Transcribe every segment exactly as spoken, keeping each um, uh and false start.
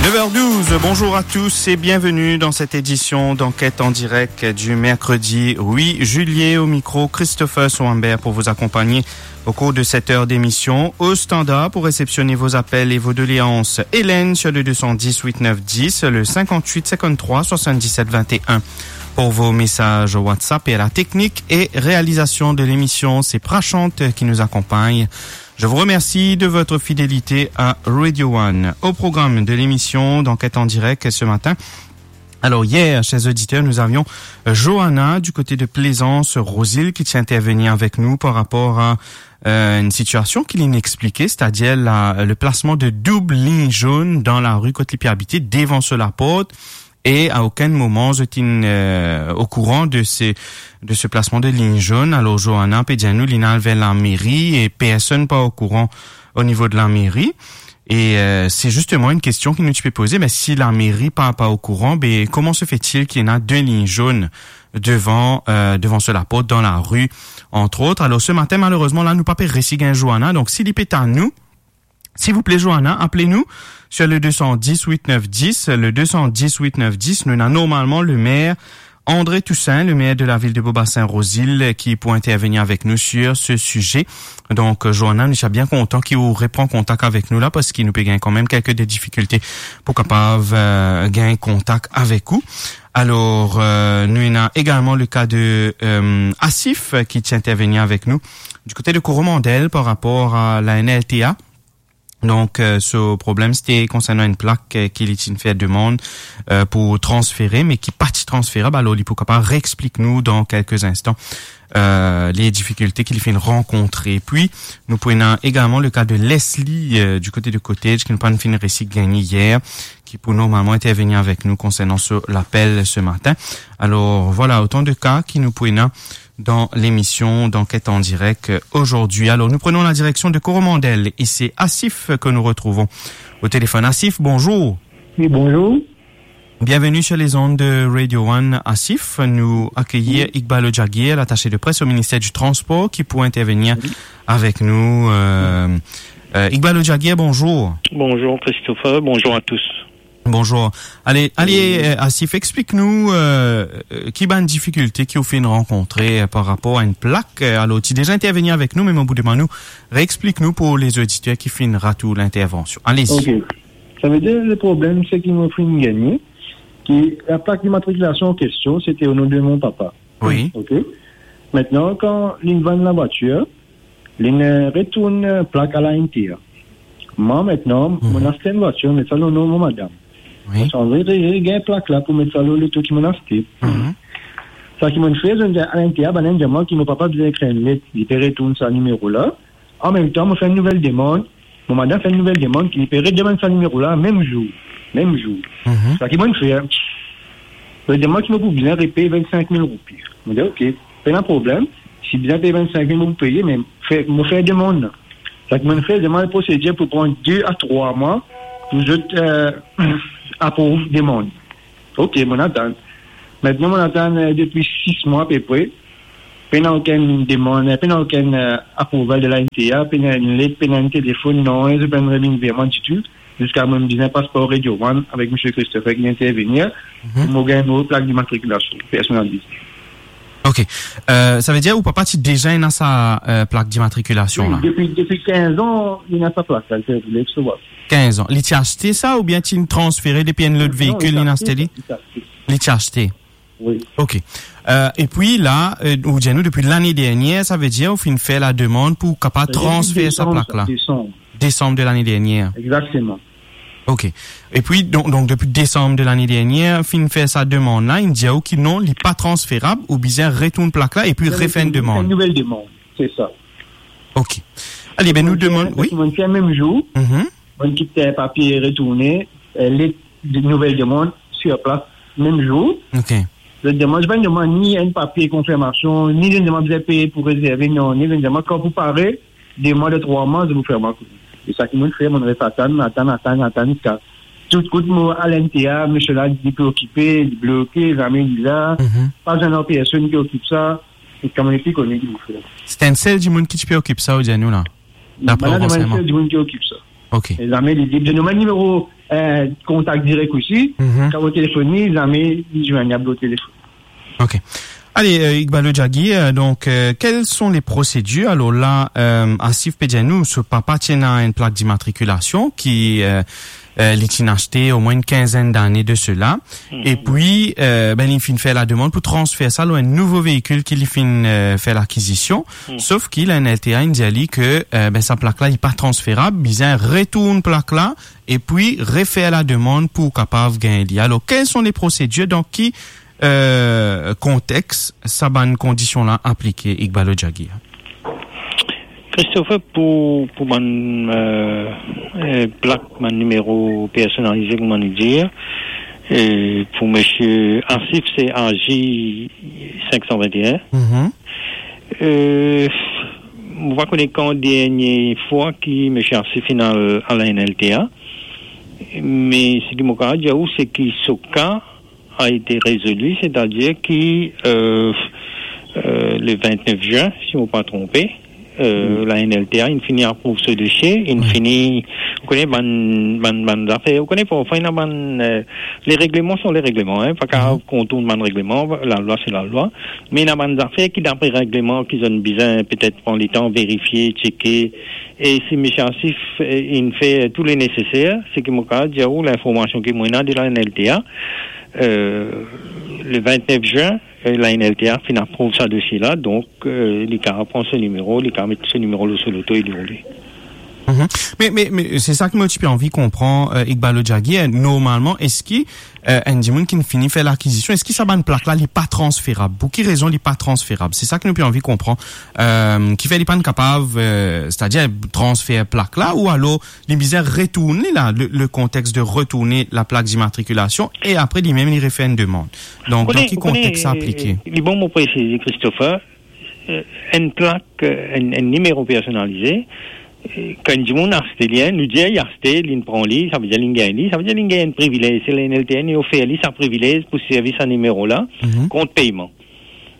Neuf heures douze, bonjour à tous et bienvenue dans cette édition d'Enquête en direct du mercredi huit juillet. Au micro, Christopher Souambert pour vous accompagner au cours de cette heure d'émission. Au standard pour réceptionner vos appels et vos doléances, Hélène sur le deux cent dix huit neuf dix, le cinquante-huit cinquante-trois soixante-dix-sept vingt et un pour vos messages WhatsApp, et à la technique et réalisation de l'émission, c'est Prashant qui nous accompagne. Je vous remercie de votre fidélité à Radio One. Au programme de l'émission d'Enquête en direct ce matin, alors hier, chers auditeurs, nous avions, euh, Johanna du côté de Plaisance, Rosil, qui tient à intervenir avec nous par rapport à, euh, une situation qu'il a expliquée, c'est-à-dire la, le placement de double ligne jaune dans la rue kot li pe abite, devant so laport. E a okenn moman zot inn, euh, au courant de ce, de ce placement de ligne jaune. Alors, Johanna pe dir nou, li inn al ver lameri e personn pa au courant au niveau de lameri. E, euh, c'est justement une question ki nou ti pe poze, mais si lameri pa, pa au courant, ben, comment se fait-il qu'il y en a deux lignes jaunes devant, euh, devant so laport, dans la rue, entre autres? Alors, ce matin, malheureusement, la, nou pa pe resi gagn Johanna. Donc, si li pe tann nou, s'il vous plaît, Johanna, appelez-nous sur le deux cent dix huit neuf dix, le deux cent dix huit neuf dix. Nou ena normalman le maire André Toussaint, le maire de la ville de Beaubassin-Rosil, qui pourra intervenir avec nous sur ce sujet. Donc, euh, Johanna, nou ti bien kontan ki ou repran kontak avek nou la, parski nou pe gagn kanmem kelke de difikilte pou kapav, euh, gagn kontak avek ou. Alors, euh, nou ena également le cas de, euh, Asif, euh, qui tient à intervenir avec nous du côté de Coromandel par rapport à la N L T A. Donc, euh, so problem, c'était concernant une plaque, euh, ki li ti inn fer demann, euh, pou transfere, me ki pa ti transferab. Alors, li pou kapav reexplik nou dans quelques instants, euh, les difficultés ki li finn rankontre. Puis, nou pou ena également le cas de Leslie, euh, du côté de Cottage, ki nou pa finn resi gagn hier, qui pourra normalement intervenir avec nous concernant ce, l'appel ce matin. Alors, voilà, autant de cas ki nou pou ena dans l'émission d'Enquête en direct, euh, aujourd'hui. Alors, nous prenons la direction de Coromandel et c'est Asif que nous retrouvons au téléphone. Asif, bonjour. Oui, bonjour. Bienvenue sur les ondes de Radio One, Asif. Nou akeyir Iqbal Ojagir, l'attaché de presse au ministère du Transport, qui pourra intervenir avec nous. Euh, euh, Iqbal Ojagir, bonjour. Bonjour Christopher, bonjour à tous. Bonjour. Ale, ale, euh, Asif, explik nou, euh, euh, ki bann difikilte ki ou finn rankontre, euh, par rapor a enn plak. Euh, alor, ti deza intervenir avek nou, me mo pou demann ou, reexplik nou pou lezoditer ki finn rat ou lintervansion. Alezi. Ok. Savedir, le problem, se ki mo finn gagne, ki laplak dimatrikilasion an kestion, sete o non de mo papa. Wi. Ok. Aster, kan li vann lavwatir, li retourn plak a la N T A. Mwa, aster, mo aste enn vwatir, met sa lor non mo madam. Wi. Mo ti anvi re-, regagn plak la pou met sa lor loto ki mo aste. Seki mo fer, zot dir a la N T A, bann dir mwa ki mo papa bizin ekrir enn let, li pe retourn sa nimero la. Anmemtan, mo fer enn nouvel demann. Mo madam fer enn nouvel demann ki li pe redemann sa nimero la mem zour. Mem zour. Seki mo fer, li demann ki mo pou bizin repey vennsenk mil roupi. Mo dir, ok, pena problem. Si bizin pey vennsenk mil, mo pou peye, me fer, mo fer demann la. Seki mo fer, demann prosedir pou pran de a trwa mwa pou zot, euh, aprouv demann. Ok, mo atann. Aster, mo atann, euh, depi sis mwa apepre. Pena okenn demann, pena okenn, euh, aprouval de la N T A, pena enn let, pena enn telefonn, non, zot pena revinn ver mwa ditou. Ziska mo bizin pas par Radio One avek misie Christopher ki intervenir, pou mo gagn mo plak dimatrikilasion personalize. Ok. Euh, savedir ou papa ti deza ena sa, euh, plak dimatrikilasion la? Wi, depi, depi kinz an, li ena sa plak la, li pe roule, so. Kinz an. Li ti aste sa oubien ti transfere depi enn lot veikil, li aste li? Non, li ti aste. Li ti aste. Wi. Ok. Euh, epi la, euh, ou dir nou depi lane dernier, savedir ou finn fer lademann pou kapav transfer sa plak la? Depi desanm, sa, desanm. Desanm de lane dernier. Exactement. Ok. Epi, donk, donk, depi desanm de lane dernier, finn fer sa demann la, inn dir ou ki non, li pa transferab, ou bizin retourn plak la epi refer enn demann. Enn nouvel demann, se sa. Ok. Ale, be, nou demann, wi? Mo fer mem zour, mo kit papie retourne, euh, let de nouvel demann sir plas, mem zour. Ok. Zot demann, zot pa demann ni enn papie konfirmasion, ni zot demann bizin peye pou rezerve, non, ni zot demann kan pou pare, de mwa, de trwa mwa, zot pou fer mwa kone. E seki mo fer, mo res atann, atann, atann, atann, ziska tout kout mo al N T A, misie la, li pe okipe, li bloke, zame li la, pa zame personn ki okip sa, e kan mo nepli kone ki pou fer. Sete enn sel dimoun ki ti pe okip sa, ou dir nou la? Dapre ou ransegneman? Sel dimoun ki okip sa. Ok. E zame li, li donn mwa nimero euh, kontak direk osi, Mhm. kan ou telefone li, zame li zwenn, li a blok telefon. Ok. Ale, euh, Iqbal Jagir, euh, donk, euh, kel son le prosedir? Alor la, euh, Asif pe dir nou, so papa ti ena enn plak dimatrikilasion ki, euh, euh, li ti inn aste omwin enn kinzenn dane de sela. Mhm. Epi, euh, ben, li finn fer lademann pou transfer sa lor enn nouvo veikil ki li finn, euh, fer lakizision. Mhm. Sof ki la N L T A inn dir li ke, euh, ben, sa plak la, li pa transferab, bizin retourn plak la, epi refer lademann pou kapav gagn li. Alor, kel son le prosedir, dan ki, euh, kontex sa bann kondision la aplike, Iqbal Jagir? Christopher, pou, pou bann, euh, euh, plak, bann nimero personalize, kouma nou dir, euh, pou misie Asif, se A J senk san vennteen. Mhm. Euh, mo pa kone kan dernie fwa ki misie Asif finn al a la N L T A, me seki mo kapav dir ou, se ki so ka a été résolu, c'est-à-dire ki, euh, euh, le vennef zin, si mo pa tronpe, euh, Mm. la N L T A inn fini aprouv so dosie, inn Oui. fini, ou kone bann, bann, bann zafer, ou kone parfwa ena bann, euh, les règlements sont les règlements, hein, pa kapav Mhm. kontourn bann regleman, lalwa se lalwa, me ena bann zafer ki dapre regleman ki zot bizin petet pran letan verifie, tcheke, e si misie Asif, euh, inn fer tou le neseser, seki mo kapav dir ou, linformasion ki mo ena de la N L T A, euh, le vennef zin, euh, la N L T A finn aprouv sa dosie la, donk, euh, li kapav pran so nimero, li kapav met so nimero lor so loto e li roule. Mhm. Me, me, me se sa ki mo ti pe anvi konpran, euh, Iqbal Jagir, normalman, eski, euh, enn dimoun ki fini fer lakizision, eski sa bann plak la, li pa transferab? Pou ki rezon li pa transferab? Se sa ki nou pe anvi konpran. Euh, kifer li pa kapav, euh, c'est-à-dire transfer plak la, ou alor li bizin retourn li la, le, le kontex de retourne la plak dimatrikilasion, e apre limem li refer enn demann. Donk, Ou kone, dan ki ou kone, konteks sa aplike? Li bon mo presize, Christopher, euh, enn plak, euh, enn, enn nimero personalize, euh, kan enn dimoun aste li, hein, nou dir li aste, li pran li, sa ve dir li gagn li, sa ve dir li gagn enn privilez, se la N L T A inn ofer li sa privilez pou servi sa nimero la, Mhm. kont peyman.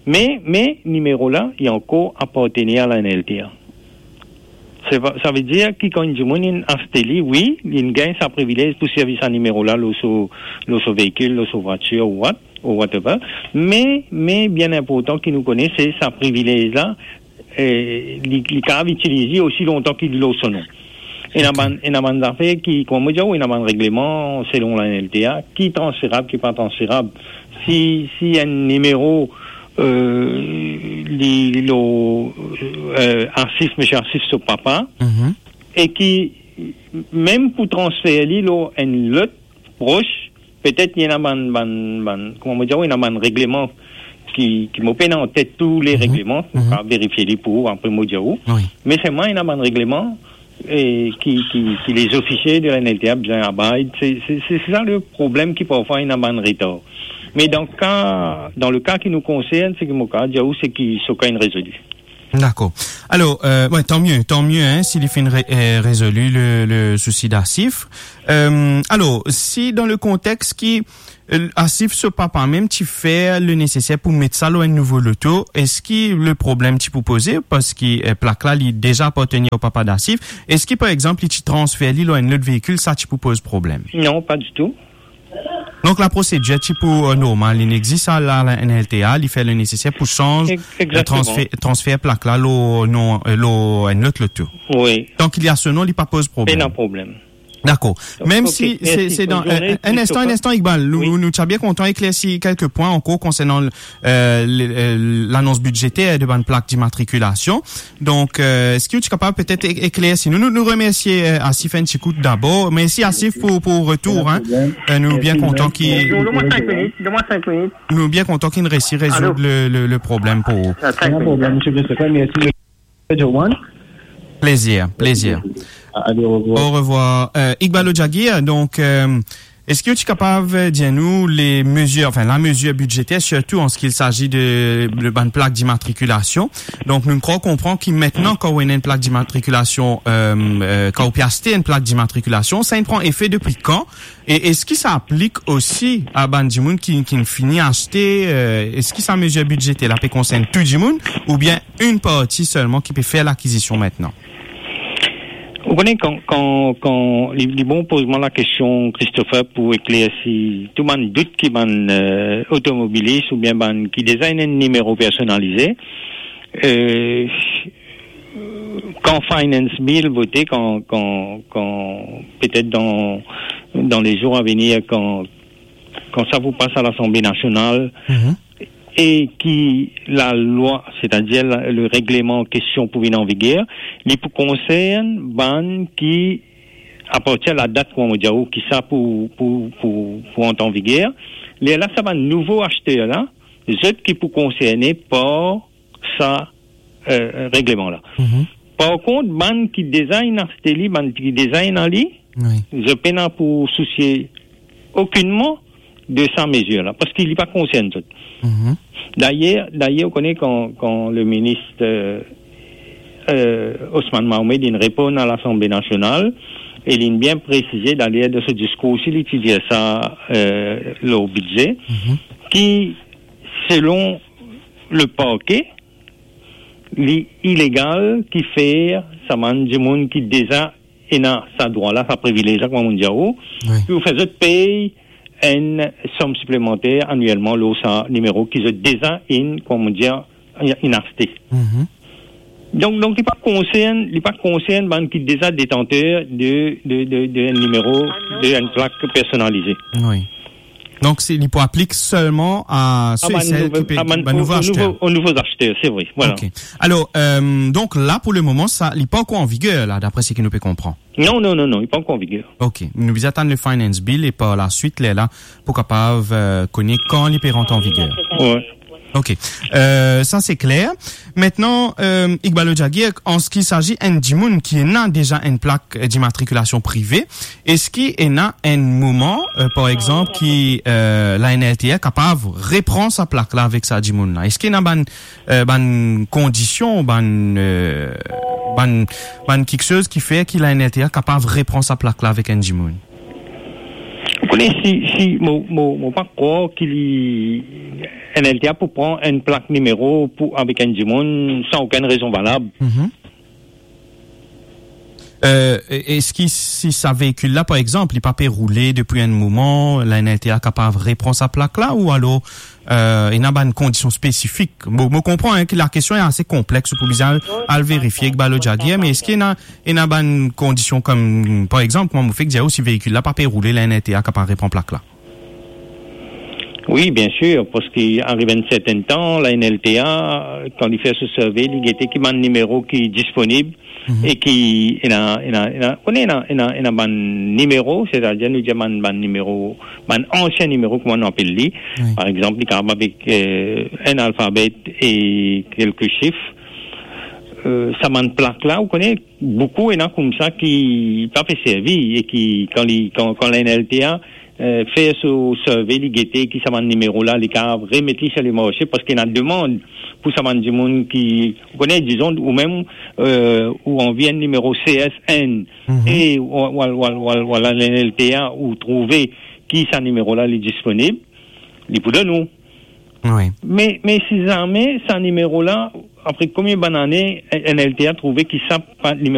Me, me nimero la, li ankor apartenir a la N L T A. Se va, sa ve dir ki kan enn dimoun inn aste li, wi, li gagn sa privilez pou servi sa nimero la lor so, lor so veikil, lor so vwatir ou what, ou whatever. Me, me bien inportan ki nou kone, se sa privilez la, eh, li, li kapav itiliz li osi lontan ki li lor so non. Ena Ok. bann, ena bann zafer ki, kouma mo dir ou, ena bann regleman selon la N L T A, ki transferab, ki pa transferab. Si, si enn nimero, euh, li, li lor, euh, Asif, misie Asif so papa, Mhm. e ki, mem pou transfer li lor enn lot pros, petet ena bann, bann, bann, kouma mo dir ou, ena bann regleman ki, ki mo pena an tet tou le Mhm. regleman, Mhm. pa verifie li pou ou, apre mo dir ou. Wi. Me selman ena bann regleman, e ki, ki, ki lezofisie de la N L T A bizin abide. Se, se, se, se sa le problem ki parfwa ena bann retar. Me dan ka, dan le ka ki nou konsern, seki mo kapav dir ou, se ki so ka inn rezoli. Dakor. Alor, euh, ouais, tant mieux, tant mieux, hein, si li finn re-, euh, rezoli le, le sousi d'Asif. Euh, alor, si dan le kontex ki, euh, Asif so papa mem ti fer le neseser pou met sa lor enn nouvo loto, eski le problem ti pou poze? Parski, euh, plak la, li deza apartenir o papa d'Asif. Eski, par exanp, li ti transfer li lor enn lot veikil, sa ti pou poz problem? Non, pa ditou. Donk, la prosedir ti pou, euh, normal, li inn existe la, la N L T A, li fer le neseser pou sanz, Ex-, euh, exactement. transfer, transfer plak la, lor non, euh, lor enn lot loto. Wi. Donk, li a so non, li pa poz problem. Pena problem. Dakor. Donk, Mem ok, si se, mersi, se dan, bonn zourne, euh, enn instan, Christopher. Enn instan, Iqbal, nou, Wi. nou, nou ti a bien kontan eklersi kelke pwin ankor konsern, euh, le, euh, lanons bidzeter de bann plak dimatrikilasion. Donk, euh, eski ou ti kapav petet e-, eklersi nou? Nou, nou remersie, euh, Asif enn ti kou dabor. Mersi Asif pou, pou retour, hein. Pena problem. Euh, nou bien Mersi, kontan mersi. ki Bonjour, donne-moi cinq minutes, donne-moi cinq minutes. Nou bien kontan ki nou resi rezoud Allô? le, le, le problem pou ou. Ah, cinq minutes. Pena problem, misie Christopher, mersi. Johan. Plezir, plezir. Allez, au revoir. Au revoir. Euh, Iqbal Jagir, donk, euh, eski ou ti kapav, euh, dir nou le mezir, anfin, la mezir bidzeter, sirtou an se ki il s'agit de, de bann plak dimatrikilasion? Donk, nou krwar konpran ki aster, kan ou ena enn plak dimatrikilasion, euh, euh, kan ou pe aste enn plak dimatrikilasion, sa inn pran efe depi kan? E eski sa aplik osi a bann dimoun ki, ki fini aste, euh, eski sa mezir bidzeter la pe konsern tou dimoun, oubien enn parti selman ki pe fer lakizision aster? Bon, kan, kan, kan li, li bon poz mwa lakestion, Christopher, pou eklersi tou bann dout ki bann, euh, otomobilis oubien bann ki deza ena enn nimero personalize. Euh, kan finance bill vote, kan, kan, kan, petet dan, dan le zour a venir, kan, kan sa pou pas a Lasanble Nasional, Mhm. e ki lalwa, setadir la, le regleman an kestion pou vinn an viger, li pou konsern bann ki, apartir ladat, kouma mo dir ou, ki sa pou, pou, pou, pou ant an viger. Lerla sa bann nouvo aster la, zot ki pou konserne par sa, euh, regleman la. Mhm. Par kont, bann ki deza inn aste li, bann ki deza ena li, Wi. zot pena pou sousie okinnman de sa mezir la, parski li pa konsern zot. Mhm. Dayer, dayer, ou kone kan, kan le minis, euh, euh, Osman Mahomed inn reponn a Lasanble Nasional, e linn bien presize, dayer dan so diskour osi, li ti dir sa, euh, lor bidze, Mhm. ki selon le parke, li ilegal ki fer sa bann dimoun ki deza ena sa drwa la, sa privilez la, kouma mo dir ou, Wi. pou fer zot pey enn som siplemanter anielman lor sa nimero ki zot deza inn, kouma mo dir, inn aste. Mhm. Donk, donk li pa konsern, li pa konsern bann ki deza detanter de, de, de, de enn nimero, de enn plak personalize. Wi. Donk, se, li pou aplik selman a Ah, sel bann e sel nouvo, ki pe, ah, bann, bann nouvo o, o aster. nouvo, o nouvo aster, se vre, vwala. Ok. Alor, euh, donk la, pou le moman, sa, li pa ankor an viger, la, dapre seki nou pe konpran. Non, non, non, non, li pa ankor an viger. Ok. Nou bizin atann le finance bill e par laswit, lerla, pou kapav, euh, kone kan li pe rant an viger. Wi. Ok. Euh, sa se kler. Aster, euh, Iqbal Jagir, an seki saji enn dimoun ki ena deza enn plak, euh, dimatrikilasion prive, eski ena enn moman, euh, par exanp, ki, euh, la N L T A kapav repran sa plak la avek sa dimoun la? Eski ena bann, euh, bann kondision, bann, euh, bann, bann kiksoz ki fer ki la N L T A kapav repran sa plak la avek enn dimoun? Ou kone, si, si mo, mo, mo pa krwar ki li, N L T A pou pran enn plak nimero pou, avek enn dimoun san okenn rezon valab. Mhm. Euh, e-, eski si sa veikil la, par exanp, li pa pe roule depi enn moman, la N L T A kapav repran sa plak la, ou alor, euh, ena bann kondision spesifik? Mo, mo konpran, hein, ki lakestion ase konplex, ou pou bizin al, al verifie ek Balo Jagir, me eski ena, ena bann kondision kom, par exanp, kouma mo fek dir ou, si veikil la pa pe roule, la N L T A kapav repran plak la? Wi, bien sir, parski ariv enn sertenn tan, la N L T A, kan li fer so survey, li gete ki bann nimero ki disponib, Mhm. e ki ena, ena, ena, kone ena, ena, ena bann nimero, setadir nou dir bann, bann nimero, bann ansien nimero, kouma nou apel li. Wi. Par exanp, li kapav avek, euh, enn alfabe e kelke sif. Euh, sa bann plak la, ou kone, boukou ena koumsa ki pa pe servi e ki, kan li, kan, kan la N L T A, euh, fer so survey, li gete ki sa bann nimero la, li kapav remet li sir lemarse, parski ena demann pou sa bann dimoun ki, ou kone, dizon, ou mem, euh, ou anvi enn nimero C S N, Mhm. e ou, ou, ou, ou, ou, ou, la N L T A, ou trouve ki sa nimero la, li disponib, li pou donn ou. Wi. Me, me si zame sa nimero la, apre konbien bann ane, N L T A trouve ki sa pa, nimero